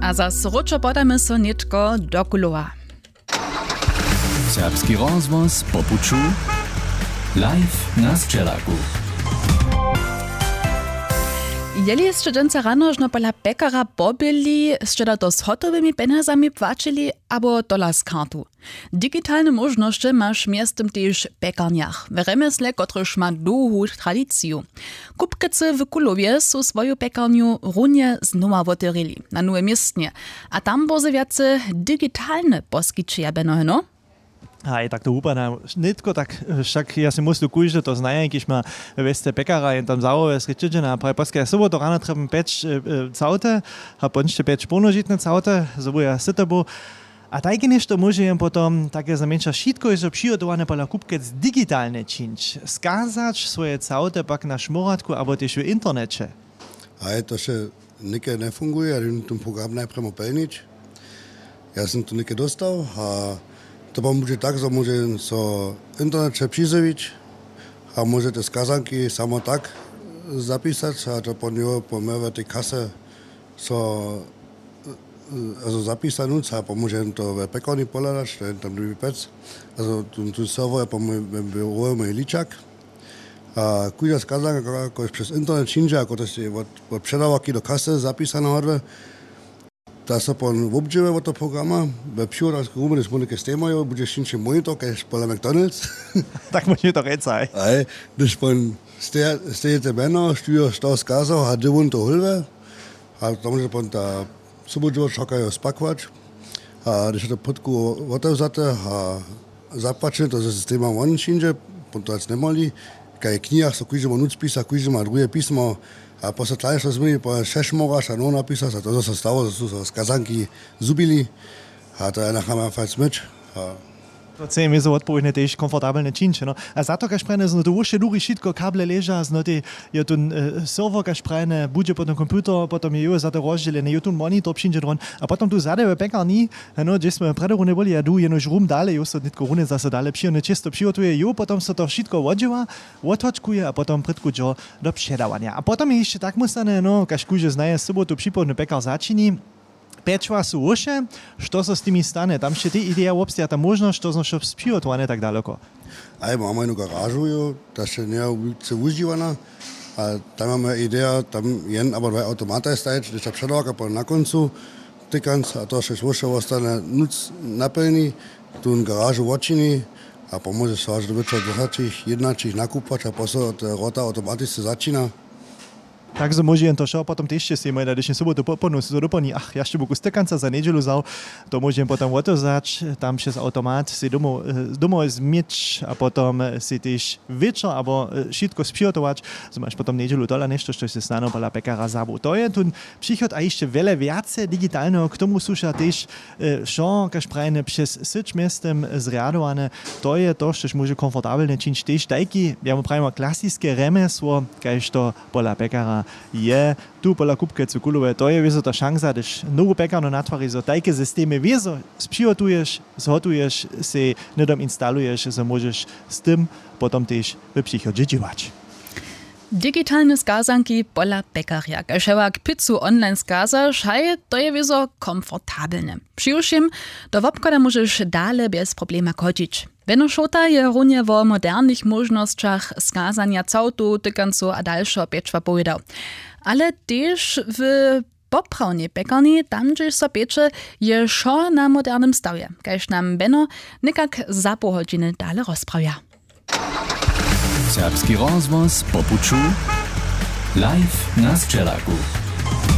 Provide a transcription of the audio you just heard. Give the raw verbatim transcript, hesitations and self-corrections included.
A zas wróćo podamy so nětko do kulowa. Serbski rozhłos po puću. Live na sćelaku. Jeli sće dźensa rano žno pola pekara pobyli, sće da to z hotowymi pjenjazami płaćili abo tola z kartu? Digitalne móžnosće maš mjeztym tež w pjekarnjach w rjemjesle, kotryž ma dołhu tradiciju. Kupkecy w kulowje su swoju pjekarnju runje znowa wotewrili na nowym městnje. A tam bórze wjace digitalne poskićeja bjeno heno. Haj, tak to wupada nětko tak. Wšak ja sej myslu, kóždy to znaje, kiž ma we wěsce pekara jen tam zawołuje srědźedźena a praje poske ja sobotu rano trjebam pjeć całte a pončće pjeć połnožitne całte, zo bu ja syty był. A tajke něšto móže jen potom, tak je znajmjeńša wšitko hižo přihotowane pola kupkec digitalnje čińć, skazać swoje całte pak na šmóratku abo tež w interneće. Haj, to wše něke njefunguje, ja jen ten program najprjemo pelnić. Ja sym to něke dóstał a to pomóže tak, zo móže jen so w interneće přizjewić a móže te skazanki samo tak zapisać a to po njeho po mjewe tej kasy so zapisanúc a pomóže jen to we pjekarni pohladać, to je tam druhi pjec. Azo tu serwer je po mój ličak. A kóžda skazanka, kotraž přez internet přińdźe a kotraž je wot předawarki do kasy zapisana hodle, ta so pon wobdźěłuje wot toho programa. We přiwodarskej rumje, hdyž móhli ke stejmajo budźeš hińši monitor kaž pola McDonald's. Tak móžeš to rěc, haj. Hdyž pon stejete mjeno, štó jo što skazał a hdy wón to hóluje. A to móže pon ta sobudźěło čakajo spakować. A hdyž je to pótku wotewzate a zapłaćene, to ze systema won přińdźe, potom to hač njemali. Kaj w knihach so kóždy móhł nutř pisać, kóždy ma druhe pismo. A poso tlanišćo změni, po šešmoraš a nowo napisać a to zo so stało, zo su so skazanki zhubili. A to je nachama fajn smyć. To chce jim wězo wotpowědnje tež komfortabelnje čińć, no. A za to kaž prajene znoty wóše dury wšitko kable leža znoty. Jo tu serwer kaž prajene budźe potom computer potom je jo za to rozdźělene jo tu monitor přińdźe dron. A potom tu zady w pjekarni, no hdźež smy prjedy runje byli ja du jenož rum dale jo so nětko runje zaso dale přihodne čěsto přihotuje jo potom so to wšitko wodźěła, wothočkuje a potom prědku dźo do předawanja a potom je hišće tak móstane no kaž kóždy znaje sobotu připołdny pjekar začini. Pječła su wóše. Što so z timi stane tam sće tej ideja wobsteja ta móžnosć što znowšo přihotowane tak daloko? Aj mamy jednu garažu jo, ta sće njeje wulce wužiwana. A tam mamy ideja tam jen abo dwaj awtomataj stajeć hdyž ta předawarka pon na kóncu tykanc a to sće wóše wostane nutř napjelni, tón garažu wotčini. A pomóže so hač do wječora dźesaćich jědnaćich nakupać a poso te wrota awtomatisce začina. Tak zo móže jen to wšo potom tež sej mój na dešni sobotu popolnu so doplni ach ja sće buku stykanca za njedźelu wzał. To móže jen potom wotewzać tam přez awtomat sej domoł domołoj změć a potom sej tež wječor abo wšitko spřihotować, zo maš potom njedźelu tola něšto štož sej snano pola pekara zabył to je tón přichod a hišće wjele wjace digitalneho k tomu słuša tež wšo kaž prajene přez syć mjeztym zrjadowane. To je to štož móže komfortabelnje čińć tež tajki ja mu prajimo klasiske rjemjesło kaž to pola pekara je. Tu pola kupkecu kulowe to je wězo ta šansa hdyž nowu pekarnu natwariš zo tajke systemy wězo spřihotuješ, zhotuješ sej hnydom instaluješ zo móžeš z tym potom tež w přichodźe dźěłać. Digitalne skazanki pola pekarja kaž hewak pizzu online skazaš haj to je wězo komfortabelne. Přiwšěm do wobchoda móžeš dale bjez problema chodźić. Wjenošołta je runje wo modernych móžnosćach skazanja całtow tykancow a dalšeho pječła powědał. Ale tež w poprawnej pjekarni tam hdźež so pječe, je wšo na modernym stawje kaž nam bjeno někak za poł hodźiny dale rozprawja. Serbski rozhłos po puću. Live na sćelaku.